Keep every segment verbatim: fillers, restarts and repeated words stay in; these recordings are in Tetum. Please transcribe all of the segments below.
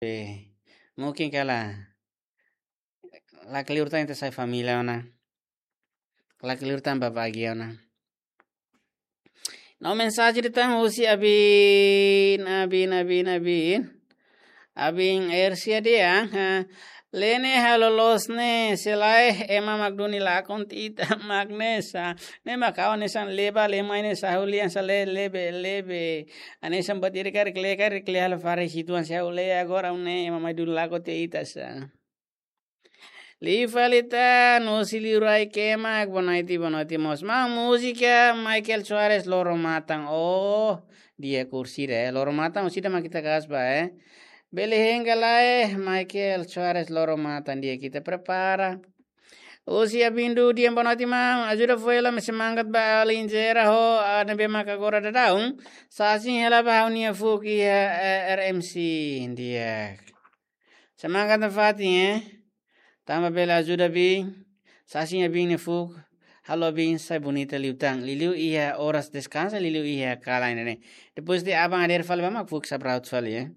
Be, mungkin kala. La kleur tan ita sai família ona. La kleur tan ba bagian ona. No mensajen ida tan husi Abin, Abin, Abin, Abin. Abin Ersia dehan, ha. Lene halo loos ne'e, se lae ema mak duni lakon tiha ita mak ne'e sa. Ne'e mak ha'u hanesan leba le mai ne'e sa ha'u lian sa le lebe, lebe. Hanesan buat ida karik le, karik le halo fari situan sa ha'u le agora ne'e ema mai duni lakon tiha ita sa. Liu fali tan, husi liurai kemak, boa noite, boa noite mós. Maun múzika Michael Soares Loro Matan. Oh, di'ak, orsida, eh. Loro Matan, orsida mak ita kasba, eh. Bele hein ka lae, Michael Soares Loro Matan, di'ak, ita prepara. Husi Abin Dudu dehan boa noite maun, ajuda fó hela mai semangat ba alin sira ho, ah, ne'ebé maka agora daudaun. Sasin hela ba ha'u-nia fuuk iha, eh, R M C, di'ak. Semangat nafatin, eh. Tanba bele ajuda Abin. Sasin Abin nia fuuk. Halo Abin sai bonita liután. Liuliu iha oras deskansa, liuliu iha kalan ne'e. Depois de aban hadeer fali ba mak fuuk sabraut fali, eh.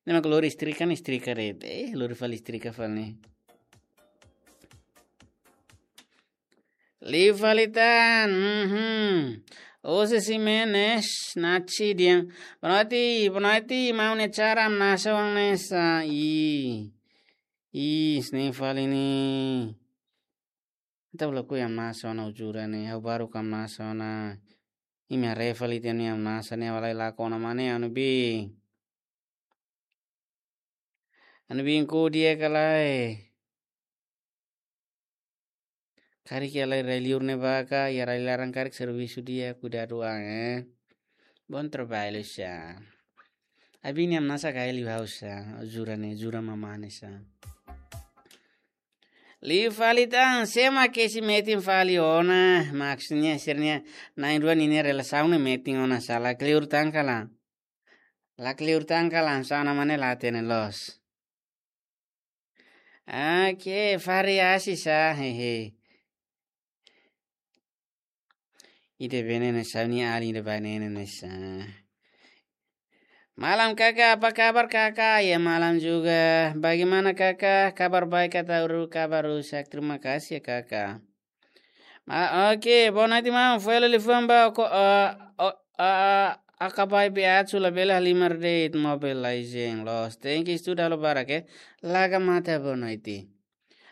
Ne'e mak lori istrika ne'e istrika de'it. Eh, lori fali istrika fali ne'e. Liu fali tan, mhm. José Ximenes, Nachi dehan. Boa noite, boa noite, maun nia acara hamnasa hanesan ne'e sa. Ih. Ih, hanesan ne'e fali ne'e. Ita bele ko'alia hamnasa ona, jura ne'e, ha'u baru hamnasa ona. Imi haree fali tan ne'e hamnasa ne'e, ha'u la lakon ona mak ne'e, anu Abin. Anu Abin, ko'alia ka lae. Karik iha rai-liur ne'ebá ka, iha rai-laran karik servisu di'ak, kuidadu an, eh. Bom trabalho sa. Abin nia hamnasa ka liu ha'u sa, jura ne'e, jura mamane sa. Liu fali tan, sé mak kesi metin fali ona, maksudnya sira-nia na'in-rua ninia relasaun ne'e metin ona sa, la kleur tan kala. La kleur tan kala, hanesan ne'e mak ne'e la hatene loos. Oke, variasi sa, hehe. Ida-ne'e ne'e sa, nia alin ida-ne'e ne'e sa. Malam kakak, apa kabar kakak? Ya malam juga. Bagaimana kakak? Kabar baik atau ru-, kabar rusak? Terima kasih ya kakak. Ma-, oke, boa noite maun. Fó hela liafuan ba ko, eh, o, eh, akabai be atsu labele halimar de'it Mobile Legend loos. Tenke estuda halo barak, eh. Laga mata, boa noite.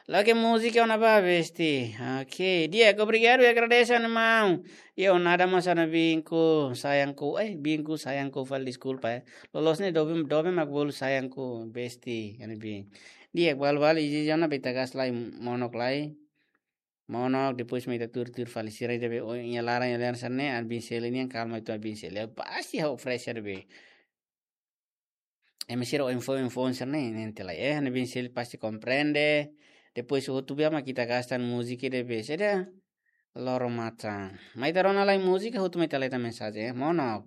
Lagi múzika ona ba besti. Oke, di'ak, obrigadu, agradese anu maun. Yo, nada mas anu Abinku, sayangku, eh, Abinku, sayangku, fali deskulpa, eh. Loloos ne'e doben, doben mak bolu sayangku, besti, anu Abin. Di'ak, balu-balu, iha zona beta gas lai, monok lai. Monok, depois mai ita tuur-tuur fali sira ida be, oh, iha laran, iha laran sira-ne'e, anu Abin selu nian, kalma atu Abin selu. Pasti ha'u fresh ida be. Ema sira info-info sira-ne'e, ne'e ente lai. Eh, anu Abin selu pasti komprende. Depois hotu be mak ita gasta múzika ida be. Saida? Loro Matan. Mai ita rona lai múzika, hotu mai ita leta mensajen, eh. Monok.